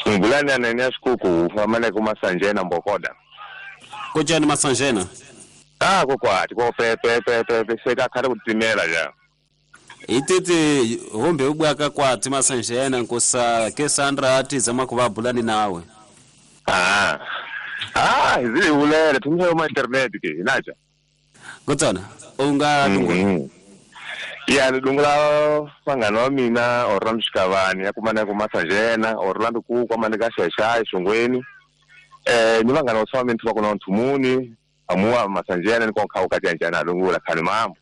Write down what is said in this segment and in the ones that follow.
Ngulani anene sikuku famane kuma Sanjena mbokoda. Kojani Masanjena? Ah kokwati ko pe pe pe pe seka khale kutimela ja. Itete hombe ubwaka kwati Masanjena nkosa ke Sandra ati zama kuva bulani nawe. Ah. Ah, izili ulele tumhe ma internet ke inacha. Kotsana unga dungula. Ya dungula vangani wa mina Orlando Xikavani ya kumana ku Masanjena Orlando ku kwamane ka Xaxai Xongweni. Ni vangani wa mina va kona Nthumuni amuwa Masanjena ni konka u katyanjana dungula khani mambo.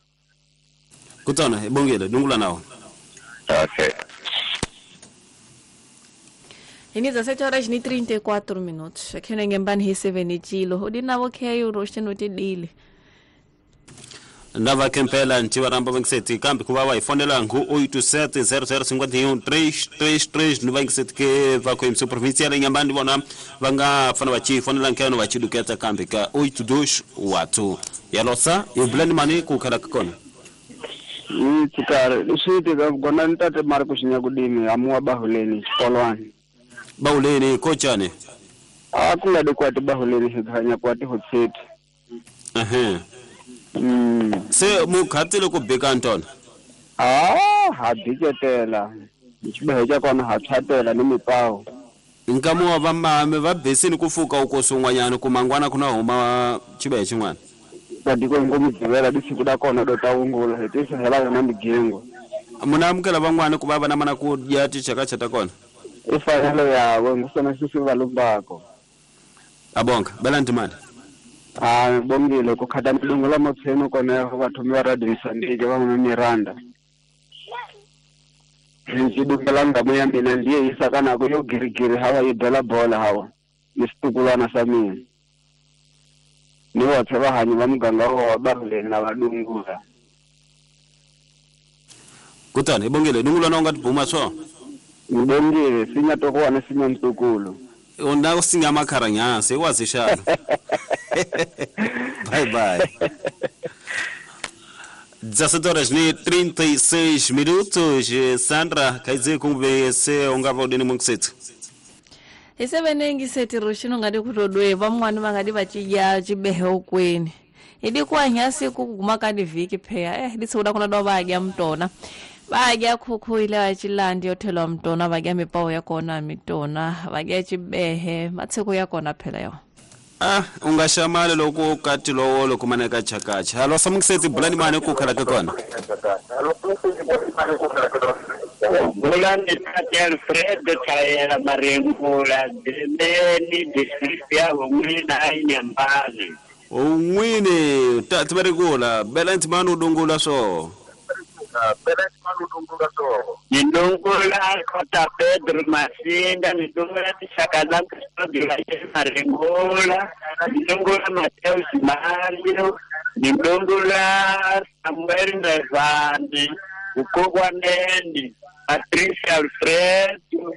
Kotsana ibongele dungula nawo. Okay. Ini 17 horas e 34 minutos. Aqui no Inhambane recebendo Chilo. O dinavo que é o rosto no tidile. Ndava kempela ntiwa ramba vangiseti kambi kuva va ifonela ngu 870051 ni vangiseti ke va ko imso provincial Inhambane vona va nga fana va chi fonela nkeno va chiduketa kambi ka 828 yalosa ibulani mani ku khala kona ni tsikare leswi ka gona ntate Marcos Nyakudimi amuwa bahuleni xikolwani bahuleni kochane a ku nga dikwati bahuleni xikhanya kwati hotseti ehe. Se mukhatile ku bika ntona ah ha biketela xibehe kona ha thatela ni mipawo nkamu wa mame va besini ku fuka uko sun'wanyana ku mangwana kuna huma xibehe xin'wana badiko ngomu dzivela disiku da kona do ta ungula hi tisa hela yona migengo muna amukela van'wana ku va va na mana ku dya tichakacha ta kona i fanelo yawe ngusona sisi va lumbako abonga bela ntimani. Ah bongile ku khata milungu la motsheno kona va thomi va Radio Mozambique va n'wana Miranda ndzi dungela ngamu ya mina ndiye yisaka nako yo girigiri hawa yi bela bola hawa ni xitukulwana xa mina ni vothe vahanyi va muganga wa Bahuleni na vadungula. Kutani ibongile dungula na unga tibuma swo ngibongile sinya tokowana sinya mtukulu una usinga makharanyasi iwazishana. Bye bye. 17 horas e 36 minutos. Sandra, quer dizer como você ungava udini mungisethu. Isebenengi sethi rushino ngadi kutodwe vamwani vangadi vachidya chibehe ukweni. Idikuwa nyasi kuguma kadi viki pheya ditsuda kuna do vadya mtona. Vadya khukhu ile vachilandi yothelwa mtona vadya mipawo ya kona mitona vadya chibehe matsiko ya kona phela yo. Ah ungashamale loko kati lowo loko maneka chakacha. Halo samungiseti bulani mane ku khala kona. Bulani Tate Alfredo Tayela Marengula Deni district ya Ngwina Inhambane. Ungwini Tate Marengula belanti manu dungula so. Nidungula Kota Pedro Masinda, nidungula Tishakazam Custódio Marengula, nidungula Mateus Mario, nidungula Samuel Ndevani, Ukogwaneni, Patrícia Alfredo,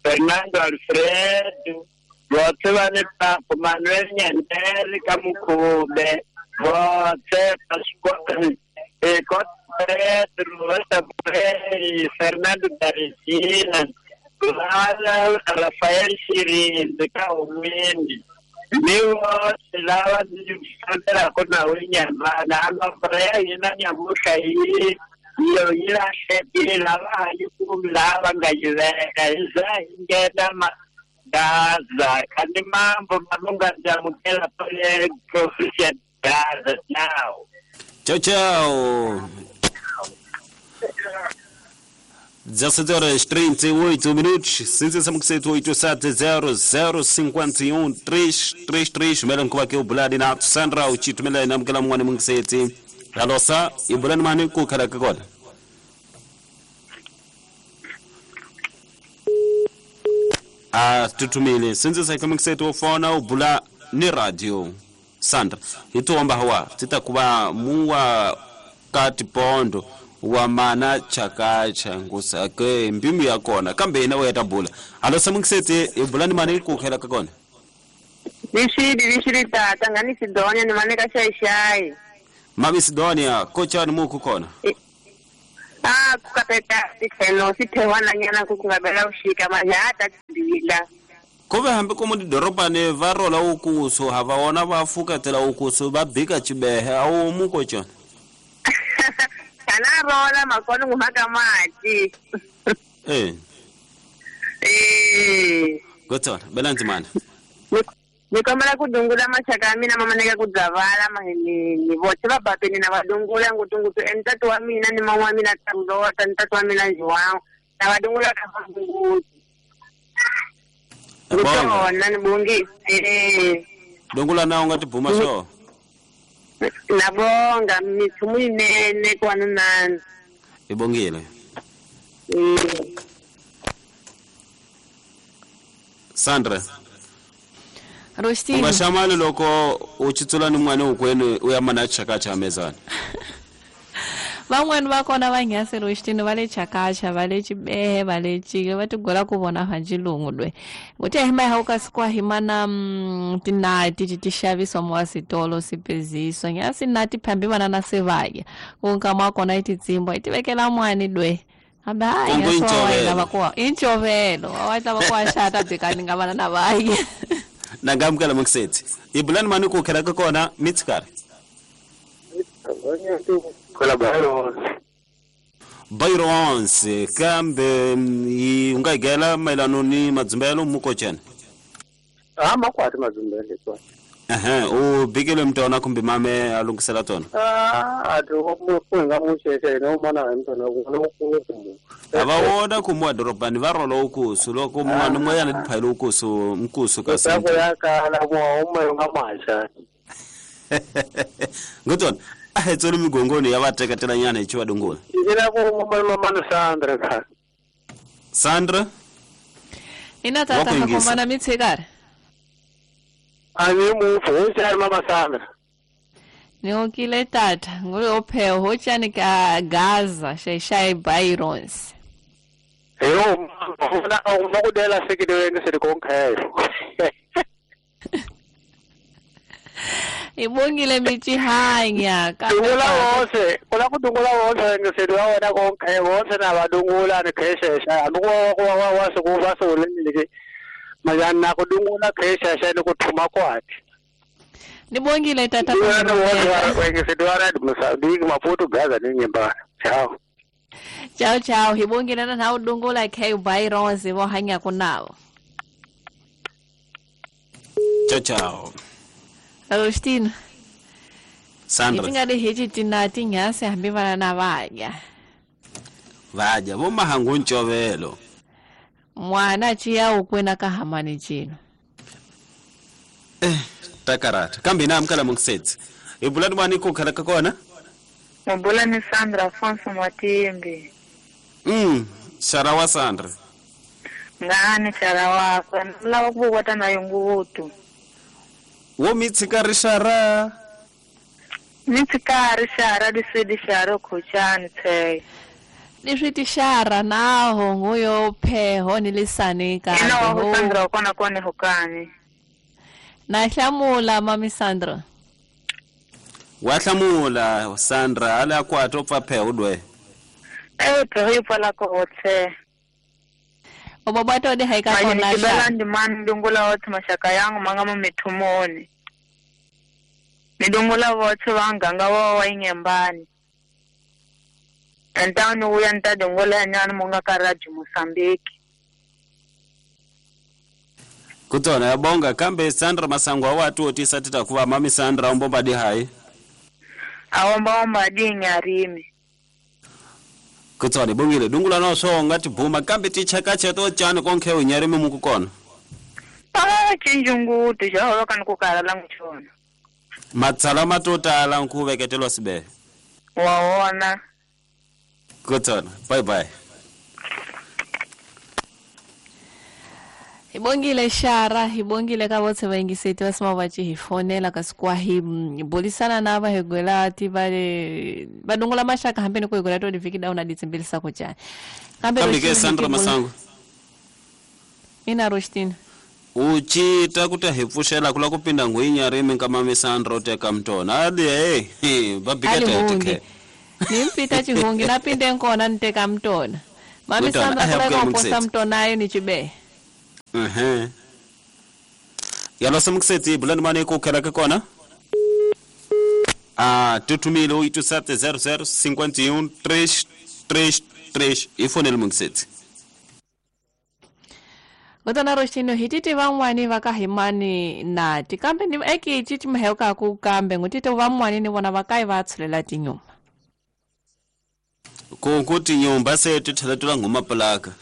Fernando Alfredo, votse vane papo Manuel Nyandere Kamukube, votse Pascoal, Kota Pedro, Samuel, Fernando Daresina, Rafael Shirinzi, Kaumini, Miwo, lava ndzi kona unyambana amafreya yina nyamuhla yi yo yi lahlekile lava yi kumi lava nga yi veka hi za hi nghena Gaza kandi mambo malunga ndamukela pale provincial Gaza now. Tchau, tchau. 17 horas 38 minutos, 587 00 51 333 mela nkuva ke ubuladi na Sandra uchitumela namukela mwana mungiseti alosa ibulani mani kukhala kona a tutumile sinzi saikamungiseti ofona ubula ni radio Sandra ituomba hawa titakuva muwa kati pondo wa mana chakacha ngusake mbimu ya kona kambe ina weta bula alo samungisete ibulani mani kukhela kakona Nishidi tata ngani Sidonia ni maneka shai shai Mami Sidonia kocha ni muku kona Ah kukapeta sitheno sithewana nyana kukungabela ushika manje hata bila Kove hambi komu didorobani va rola ukusu hava wona va fuketela ukusu va bika chibehe a wu muko cona. Kana rola makona ngumaka mati. Eh. Eh. Gotsona belanzi mana. Nikomela kudungula mashaka ya mina mama neka kudzavala maheleni vote va bapeni na vadungula ngutungutu entatu wa mina ni mama wa mina tamlota ntatu wa mina João na vadungula ka vadunguti. Ngutona ni bongi eh. Dungula na unga tibuma so. Nabonga mithumu inene kwana nani. Ibongile. Sandra. Rostini. Ungashamali loko uchitsula ni mwana ukwenu uyamana chakacha mezani. Van'wani va kona va nghasi Rostini va le chakacha va le chibehe va le chike va tigola ku vona hanjilungu lwe. Nguthe hima ha ukasikwa himana tinati ti xaviswa mo switolo sipeziswa nghasi nati phambi vana na sevaya. Ku nkama kona ititsimbo itivekela mwani lwe. Aba ya so inchovelo wa tla va kwa xata bikani nga vana na vayi. Nangamukela muksetsi. Ibulani mani ku khela ka kona mitsikari. Bayrons kambe yi unga gela mayelano ni madzumbelo mukochena. Ah makwati madzumbelo kwa. Ehe u bikele mntona kumbe mame alungisela tona. Ah ati ko nga musheshe no mana mntona ku ku. Avawona kumwa dorobani va rola ukusu loko mwana moyana diphayilo ukusu mkusu ka sento. Ya ka la mo uma nga masha. Ngotona a tsolo migongoni ya va teketela nyana hi chiva dungula. Ndzi ku mama Sandra ka. Sandra? Ina tata ka mana mitsikari. Ani mu fo mama Sandra. Ni tata ngule opheo hochani ka Gaza shayshai Byrons. Eyo uma kudela sekidweni selikonkhelo. Ibongile michihanya ka. Dungula wonse, kula kudungula wonse ngiseliwa wona konke wonse nabadungula nekheshesha amuko wa wa sokuba soleleke. Majana kudungula kheshesha nikuthuma kwakhe. Nibongile tata. Ngiseliwa Mozambique Maputo Gaza ninyimba. Ciao. Ciao ciao hibongile na nawu dungula khe Byrons vo hanya kunawo. Ciao ciao. Agostino. Sandra. Itingade hichi tinati nyasi hambi vana na vadya. Vadya vo mahangu nchovelo. Mwana chiya ukwena ka hamani chino. Eh takarata. Kambe na amkala mungsetsi. Ibulani mani ku khala ka kona? Mabula ni Sandra Afonso Mwatimbi. Sharawa Sandra. Ngani sharawa kwa mlawa kubwata na yungutu. Wo mitsikari shara. Mitsikari shara disidi shara kuchani te. Niswiti shara naho nguyo pheho nilisani ka. Ino Sandra kona kone hukani. Na hlamula mami Sandra. Wa hlamula Sandra ala kwa topfa pheho dwe. Eh pheho ipala ko otse. Obabato de haika kona sha. Ndi man ndungula wote mashaka yangu mangama mithumoni. Ndungula wote vanganga wa wa inyembani. Antani uya ntadungula nyana munga karaji Mozambique. Kutona yabonga kambe Sandra Masango watu otisa tita kuva mami Sandra ombomba di hai. Aomba omba di nyarimi. Kutsani bongile dungula no so ngati bhuma kambe tichakacha to chani konke unyarimi mukukona. Ah chinjungu tijalo kan kukala la ngchona. Matsala matotala nkuveketelwa sibe. Waona. Kutsana bye bye. Ibongile shara ibongile ka botse vaingiseti vasima vachi hifonela kasikwa hi bolisana nava higwela ti vale vadungula mashaka hambeni ku higwela to diviki dauna ditsimbilisa kuchani. Kambe ke Sandra Masango. Ina Rostina. Uchita kuti hipfuxela kula kupinda ngwinya rimi ka mami Sandra uteka mtona. Ali eh babika tete. Nimpita chihungi napinde nkona niteka mtona. Mami Sandra kula kuposa mtona ayo ni chibe. Yalo samukiseti bulani mane ku khela ka kona. A tutumile 8700 51 333 ifonele mukiseti. Ngotana roxino hititi van'wani va ka himani nati kambe ni eki ci mheka ku kambe ngutite van'wani ni vona va kai va tshulela tinyumba. Ku tinyumba se ti tlhela ti la nghuma plaka.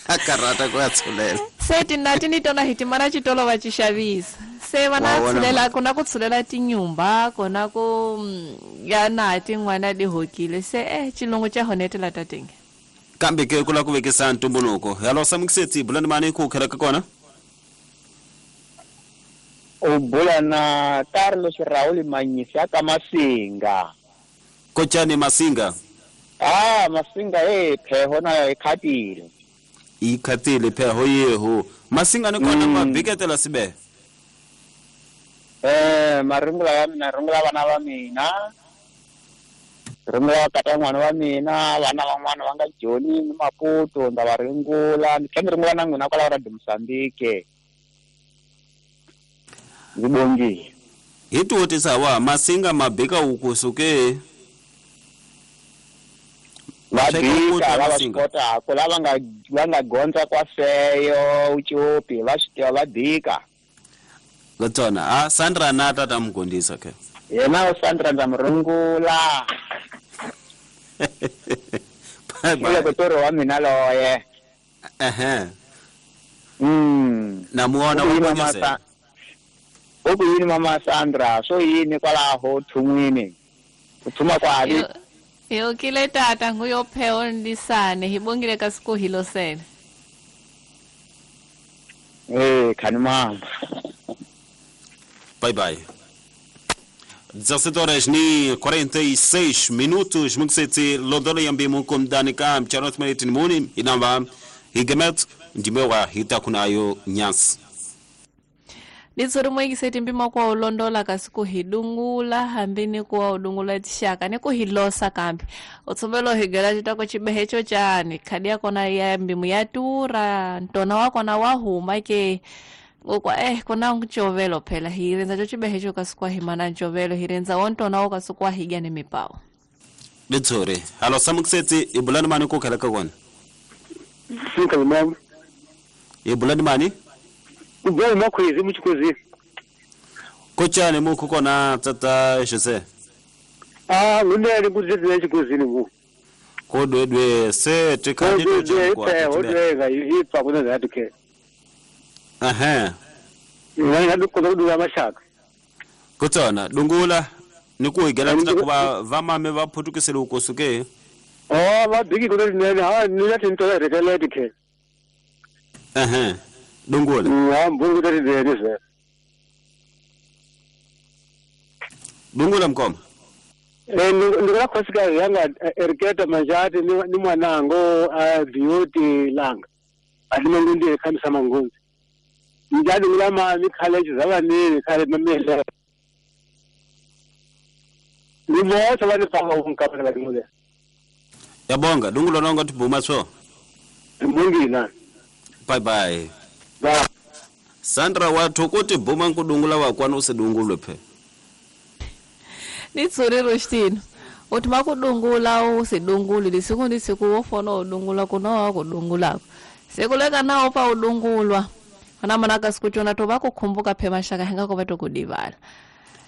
Takarata ku ya tshulela. Se tinati ni tona hitimana xitolo va ci xavisa. Se vana tshulela ku na ku tshulela tinyumba kona ku ya nati n'wana di hokile se xilungu xa honetela tatenge. Kambe ke kula ku vekisa ntumbuluko. Hello samukiseti bulani mani ku khela ka kona. U bula na Carlos Raul Manyisa ka Masinga. Kochani Masinga. Ah Masinga pheho na ikhatile. Ikhatile pheho yeho. Masinga ni kona mabiketela sibe. Marungula ya mina rungula vana va mina. Rungula kata n'wana wa mina vana van'wana va nga Joni ni Maputo nda va ringula ni tlhela ringula na n'wina kwala ra Mozambique. Ndzi bongile. Hi tiwotisa wa Masinga mabika ukusuke. Mabika lava swi kotaka lava nga gondza kwa feyo uchopi va swi tiva va bika. Gotsona Sandra na tata mugondisa ke. Yena Sandra ndza murungula. Bye bye. Kotoro wa mina loye. Na muona wa Oku yini mama Sandra so yini kwalaho thumwini. Uthuma kwali. Yo kile tata nguyopheo ndisane hibongile kasiku hilo sene. Khani mama. Bye bye. 17 horas ni 46 minutos mukseti lodolo yambi mukum danika mchanot meritin muni inamba higemet ndimewa hitakunayo nyasi. Litsori mwekiseti mpima kwa ulondola kasiku hidungula hambini kuwa udungula tishaka ni kuhilosa kambi utsumbelo higela chitako chibehecho chani khadi yakona ya mbimu yatura ntona wakona wahuma ke ngokwa kona nchovelo phela hirenza cho chibehecho kasiku himana nchovelo hirenza wontona wakasiku higa ni mipao. Litsori halo samukiseti ibulani mani kukhela ka kona. Sika mama. Ibulani mani? Ubona makhwezi muchikwezi. Kochane mukho kona tata Jose. Ngunele kuzizile chikwezini ku. Kodwedwe se tikhandi to odwega ipfa kuna zatu ke. Ngani ngikho kudula mashaka. Kotsona dungula nikuigela tsina kuva vamame va phutukisele ukosuke. Vabiki kuna nene ha nina tinto rekeleti ke. Dungula. Mbungu tati Dungula mkoma. Ndikula khosikazi yanga eriketa manjati ni mwanango beauty langa. Ati khamisa mangunzi. Njani ngilama mikhaleji zabanini khale mamele. Ni botho ba nifaka unkapela badimule. Yabonga dungula nonga tibuma so. Mbungina. Bye bye. Bye. Sandra wathu kuti buma nkudungula wakwana usidungulwe phe. Nitsuri Rostino. Uthi makudungula usidunguli lisiku ndisiku wofona udungula kunowa kudungulako. Sekuleka nawo pa udungulwa. Ana manaka sikuchona to bakukhumbuka phe mashaka henga ko batokudibala.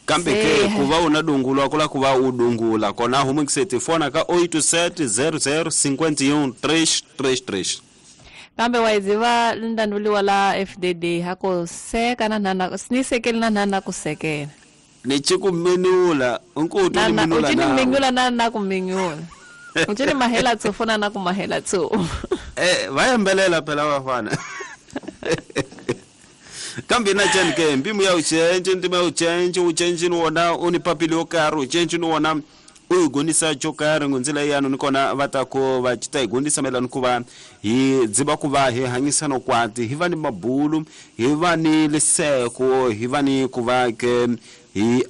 Kambe ke kuva unadungulwa kula kuva udungula kona humukiseti fona ka 87 00 51 333. Kambe waiziva ndanduliwa la FDD hako seka na nana sinisekeli na nana kusekela. Nichikumenula unkutu nimenula na. Uchini na na kumenyula. Uchini mahela tsofona na kumahela tso. Vayambelela phela wafana. Kambe na chani ke mbimu ya uchenje ndima ya uchenje uchenje niwona unipapili okari uchenje niwona uyigonisa chokari ngonzila yanu nikona vatako vachita igondisa maelano kuva hi dziva kuva hi hanyisana kwati hi va ni mabulu hi va ni liseko hi va ni kuva ke hi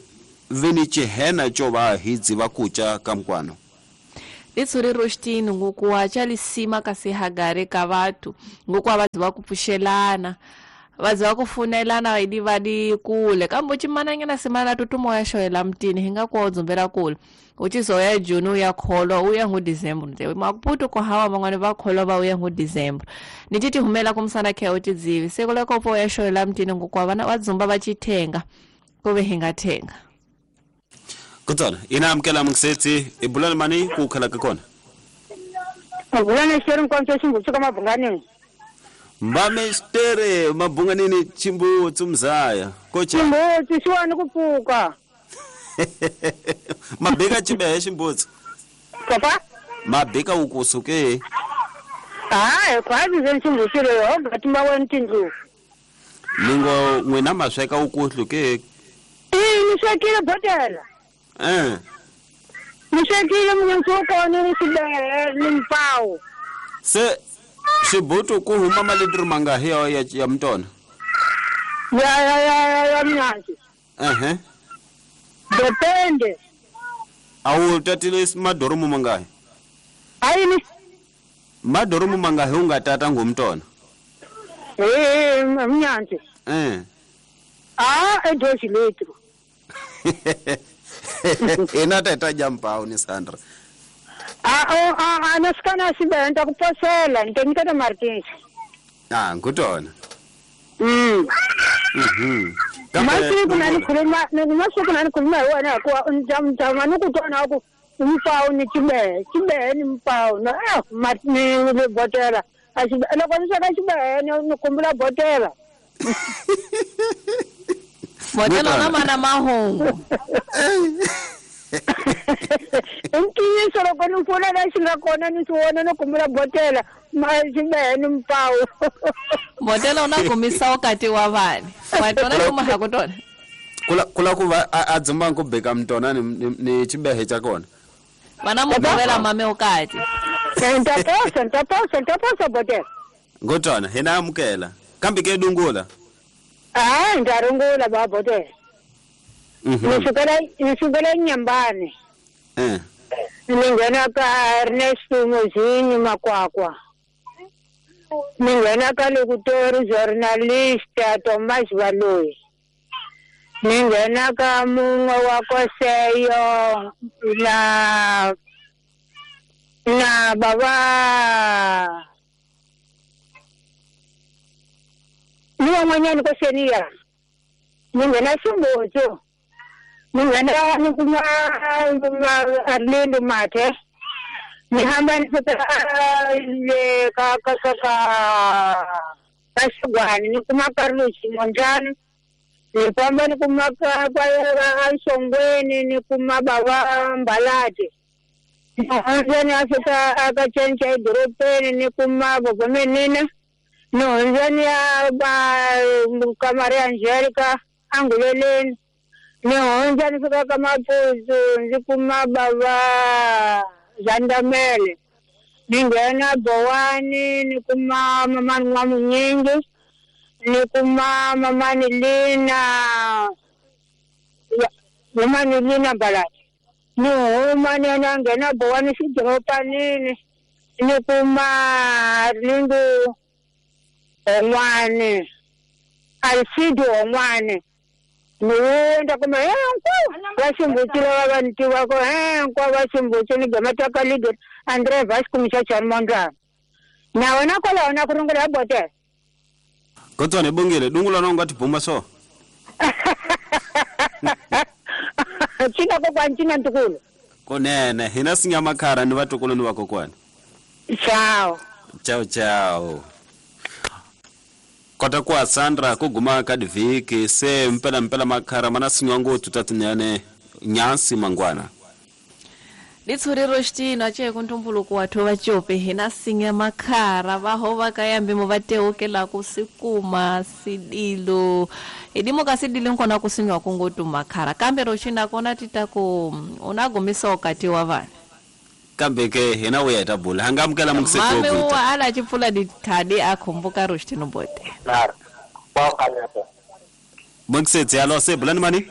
ve ni chihena cho va hi dziva kucha ka mkwano. Litsuri Rostino ngokuwa chalisima kasi hagare ka vatu ngokuwa vadziva kupushelana. Vazi va ku funelana idi va di kule kambe uchimananyana simana tutumo ya xoyela mtini hi nga ku dzumbela kule uchizoya June uya kholwa uya ngu December nte maputo ko hawa mangwane va kholwa va uya ngu December ni titi humela kumsana khe utidzivi sekule kopo ya xoyela mtini ngukwa vana va dzumba va chithenga kuve hi nga thenga kutsana ina amkela mungsetsi ibulani mani ku khala ka kona abulani sheri nkonzo chimbutsi ka mabunganini mbame stere mabunganini chimbutsi mzaya kocha chimbutsi siwani kupfuka mabeka chibehe chimbutsi papa mabeka ukusuke hayi kwazi zenchimbutsi leyo ngatimba weni tindlu ningo n'wina masweka ukuhlu ke ni swekile botela ni swekile munyansi wa kona ni xibehe ni mpawu se xibutu ku huma malitiri mangahi ya mtona ya mnyansi depende awu tatile madoromu mangahi ayini madoromu mangahi u nga tata ngumtona mnyansi a edosi letru ina tata jampawu ni Sandra a nasikana sibe nta kuposela nteniketa Martins ngutona masiku nanikhuluma hi wena hikuva mtama ni ku twana ku mpawu ni chibehe chibehe ni mpawu ni botela loko ni sweka xibehe ni khumbula botela botela na mana mahungu ntiyiso loko ni pfuna la xi nga kona ni swi vona ni khumbula botela xibehe ni mpawu botela u na kumisa ukati wa vani wa tona kuma ha ku tona kula ku va a dzumba ku beka mtona ni xibehe xa kona vana mugovela mame ukati ntaposa botela ngotona hina amukela kambe ke dungula nda rungula ba botela ni sukela Nyambani ni nghena ka Ernesto Mozinyi Makwakwa ni nghena ka Lokutori journalist Thomas Baloyi ni nghena ka mun'we wa Koseyo na baba ni van'wanyani koseniya ni nghena Ximbutsu ni nghena ni kuma Arlindo Mathe ni hamba ni fika le ka ka ka ka Xigwani ni kuma Carlos Monjani ni famba ni kuma ka Xongweni ni kuma baba Mbalati ni hundza ni ya fika aka Cenca edorobeni ni kuma Bogomenina ni hundza ni ya ka Maria Angelica Anguleleni ni hundza ni fika ka Mapuzu ndzi kuma baba Zandamele ni nghena Bowani ni kuma mamani N'wamunyingi ni kuma mamani Lina Mbalati ni huma ni ya nghena Bowani xidoropanini ni kuma Lindu On'wani Alcido On'wani ni hundza kuma hinkwavo va Ximbutsi lava va ni tivaka hinkwavo va Ximbutsi ni gamata ka leader Andre Vasco Mchachani Mondlane na wena kwalaho na ku rungula ya botela kotswana bongile dungula na u nga tibuma so cina kokwani cina ntukulu kunene hina sinya makhara ni vatukulu ni vakokwani ciao ciao ciao kota ku Sandra ku guma ka divhiki se mpela mpela makhara mana sinywa ngopfu tatinene nyansi mangwana litshuriro xitino ace ku ntumbuluko wathu va cope hina sinya makhara va ho va ka yambimo va teukela ku sikuma sidilo idimo ka sidilo nkona ku sinywa ku ngotu makhara kambe ro xina kona tita ku una gumisa ukati wa vana kambe ke hina uya ta bula hangamukela mame wa ala chipfula dithadi a khumbuka ro xitino bote Moksetsi alo se bulani mani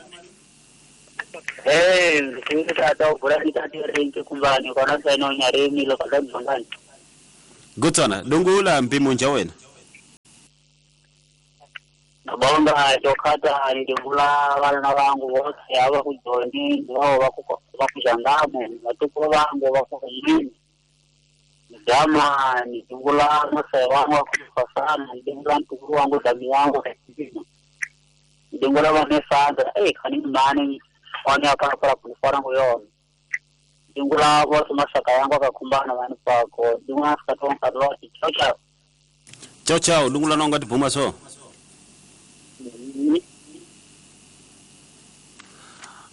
Gutsana dungula mpimo nja wena Nabonga chokata ndivula vana vangu vose ava kujoni vao vakujangamu vatukulu vangu vakuhini jama nidivula mose wangu wakufasana ndivula ntukulu wangu dami wangu ndingula vanesandra khani mani one akapala kulifora nguyona ndingula vose masaka yangu akakumbana vani pako ndingula sikatonkaloti chao chao chao chao ndingula nonga tibhuma so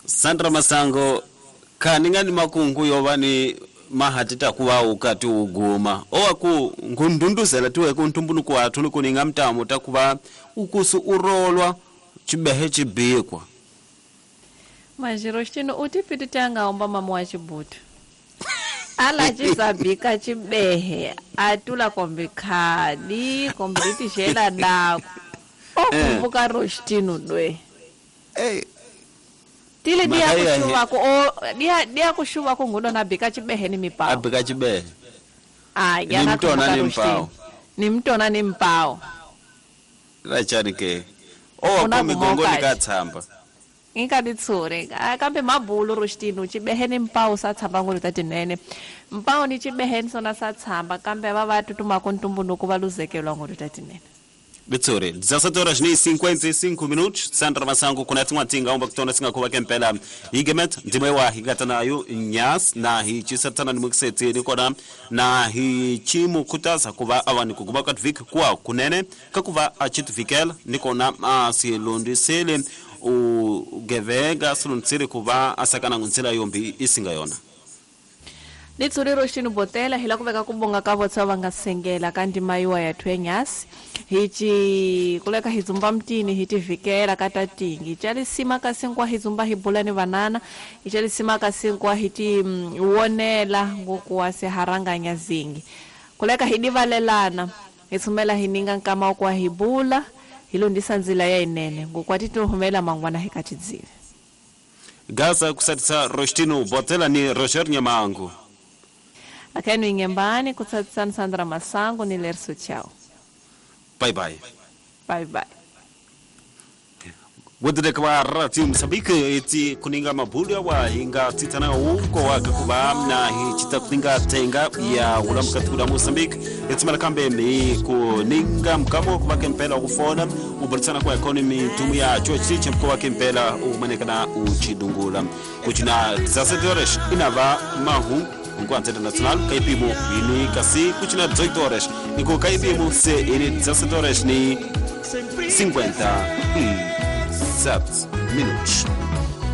Sandra Masango khaninga ni makungu yova ni mahati takuva ukati uguma owaku ngundunduzela tiwe kuntumbunuku wathu ni kuninga mtamo takuva ukusu urolwa chibehe chibikwa Majiro xino utipiti tanga omba mama wa chibutu ala chisabika chibehe atula kombe khadi kombe litixela dako okumbuka roxitino dwe tile dia kushuva ku ngudo na bika chibehe ni mipao abika chibehe ni mtona ni mpao ni mtona ni mpao rachani ke owa ku migongoni ka tshamba inkaditsure kambe mabulu roxitino chibehe ni mpao sa tshamba ngulu ta tinene mpao ni chibehe ni sona sa tshamba kambe va va tutumaka ntumbunuku va luzekelwa ngulu ta tinene Bitsore, 17 horas ni 55 minutos. Sandra Masango kuna tinga omba kutona singa kuva kempela. Higemet ndimewa higatana yo nyas na hi chisatana ni mukiseti ni kona na hi chimu kutaza kuva awani kukuba katvik kwa kunene kakuva achitvikel ni kona asilundisele ugevega silundisele kuva asakana ngunzela yombi isinga yona. Litsuriro xinu botela hila kuveka kubonga ka votsa va nga sengela ka ndima yiwa ya thwenyasi hichi kuleka hizumba mtini hitivikela ka tatingi ichalisima ka sinkwa hizumba hibula ni vanana ichalisima ka sinkwa hiti wonela ngokuwa seharanganya zingi kuleka hidivalelana hitsumela hininga nkama kwa hibula hilondisa nzila ya inene ngokuwa tituhumela mangwana hikachidzile Gaza kusatisa Rostino botela ni Roger Nyamangu. Akenu ingembani kutsatsan Sandra Masango ni Lerso chao. Bye bye. Bye bye. Wedde kwa rati msabike eti kuninga mabulu wa hinga titana uko wakakuba na hichita kuninga tenga ya ulamka tukula Mozambique eti malakambe ni kuninga mkamo kwa kempela kufona ubolisana kwa economy tumu ya chuo chiche mko wa kempela umanekana uchidungula kuchina 17 horas inava mahu enquanto internacional kaipimo ini kasi kuchina 18 horas niko kaipimo se ini 17 horas ni 57 minutos.